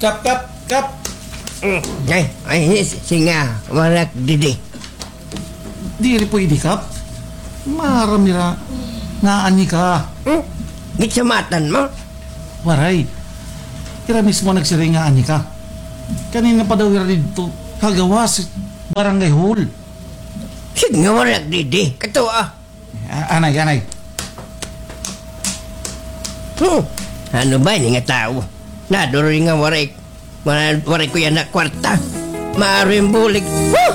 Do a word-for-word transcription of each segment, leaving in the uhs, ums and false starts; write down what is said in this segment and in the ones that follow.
Kap, kap, kap. Mm, ay, ay, singa, waray ak didi. Diri pwede, Kap. Maaram hira nga aani ka. Hmm? Ginsamatan mo? Waray. Hira mismo nagsiring nga aani ka. Kanina pa daw hira didto ha gawas, barangay hall. Sige nga, waray ak didi. Kato, ah. A-, anay, anay. Hmm. Ano ba ini nga tawo? Naduro nga waray, waray, waray ko yana kwarta. Maaram bulig. Huh!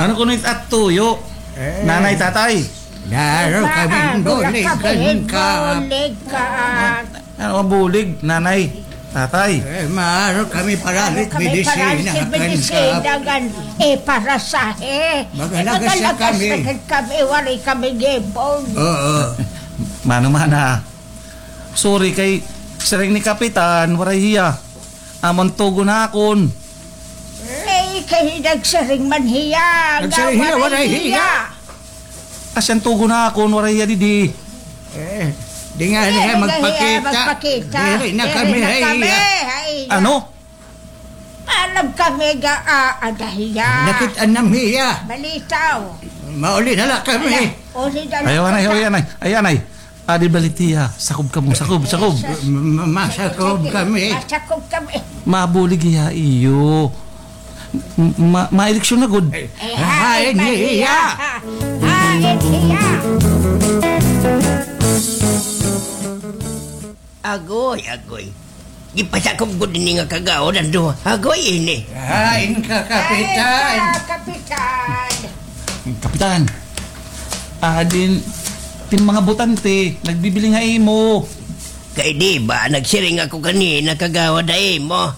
Ano kuno it at tuyo? Eh. Nanay, tatay? Daro kami bulig, bulig ka. Ano ang bulig, nanay, tatay? Eh, maaram kami paralit medisina, medisina kan, eh, parasahe. Magalagas na kami. Magalagas na kami, waray kami gipon. Oo. Mano man, ah. Sorry kay siring ni Kapitan, waray hiya. Amo an tugon ha akon. Eh, kay nagsiring man hiya. Nagsiring hiya, waray hiya. Asya an tugon ha akon, waray hiya didi. Eh, di nga hiya magpakita. Magpakita. Diri na kami, diri na kami, hay. Ano? Alam kami ga, ah, ada hiya. Nakit-an nam hiya. Balitaw. Mauli na la kami. Ayaw, anay, ayaw, anay. Ayaw, anay. Adi balik hiya. Sakob kamo, sakob, sakob. Ma-, ma-, masakob kami. Masakob kami. Mabulig hiya iyo. M-, ma-, maeleksyon na gud. Eh, hain hiya. Hain hiya. Agoy, agoy. Gipasakob gud ini nga kagawad an duha. Agoy ini. Hain ka, Kapitan. Hain ka, Kapitan. Kapitan. Adin, tin mga botante, nagbibiling ha imo. Kay di ba, nagsiring ako kanina, kagawad, ha imo.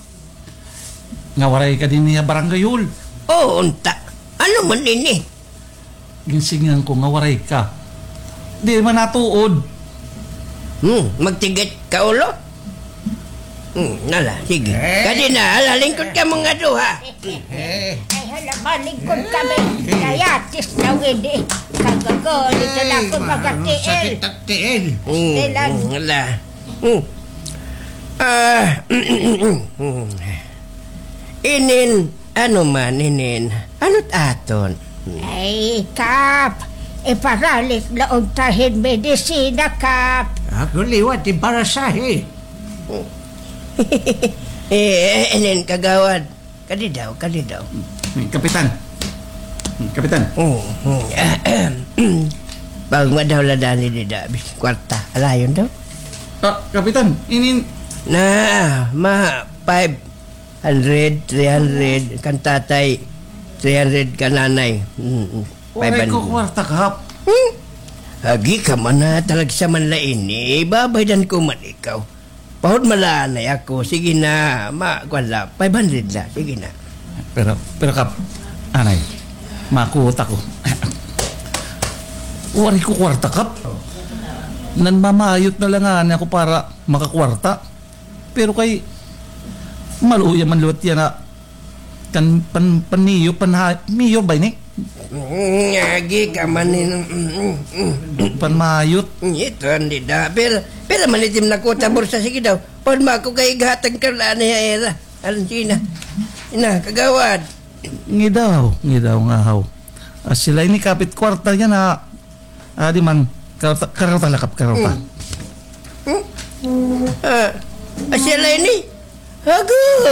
Nga waray ka dinhi ha barangay hall. Oo, unta. Ano man ini? Ginsiringan ko nga waray ka. Di man natuod. Hmm, magtigit ka ulo? Hmm, nala, sige. Eh. Kadi na, hala, lingkod ka mga duha. Eh. Ay, hala, malingkod kami. Eh. Kaya, tisnaw ini. Kagago, dito na ako, eh, mga tiil. Sakit ang tiil. Hmm, hmm, hala. Hmm. Ah, inin, ano man, inin, ano't aton? Ay, Kap, iparalit la unta hin medisina, Kap. Ako liwat, iparasahe. Eh, inin, kagawad. Kadi daw, kadi daw. Hmm, Kapitan. Hmm, Kapitan. Oh, oh. Pag madaw la dani dida, bis kwarta. Alayon daw. Ah, Kapitan, inin. Na, ma, five hundred, three hundred, kan tatay, three hundred kan nanay. Mm, mm. Waray ko kwarta, Kap. Hmm? Agi ka man na, talagsa man la ini. Babaydan ko man ikaw. Pahod man la anay ako. Sige na, ma, kuan la, five hundred la. Sige na. Pero, pero Kap, anay, makuot ako. Waray ko kwarta, Kap. Nanmamayot na la ngani ako para makakwarta. Pero kay, maluya man liwat yana. Kan, pan, pan mayor, pan ha-, mayor ba ini? Mm, agi ka man in-, mm, mm, mm. Panmayot. Ito, hindi da. Pero, pero man itim na kuta bursa, sige daw. Pahod ma ako kay ighatag ka la ni era. Aron sina. Ina, kagawad. Ngidaw, ngidaw nga haw. Ah, sila ini kapit kwarta yana. Adi man, karota, karota la, Kap, karota. Hmm. Hmm? Ah, asya la ini. Agoy,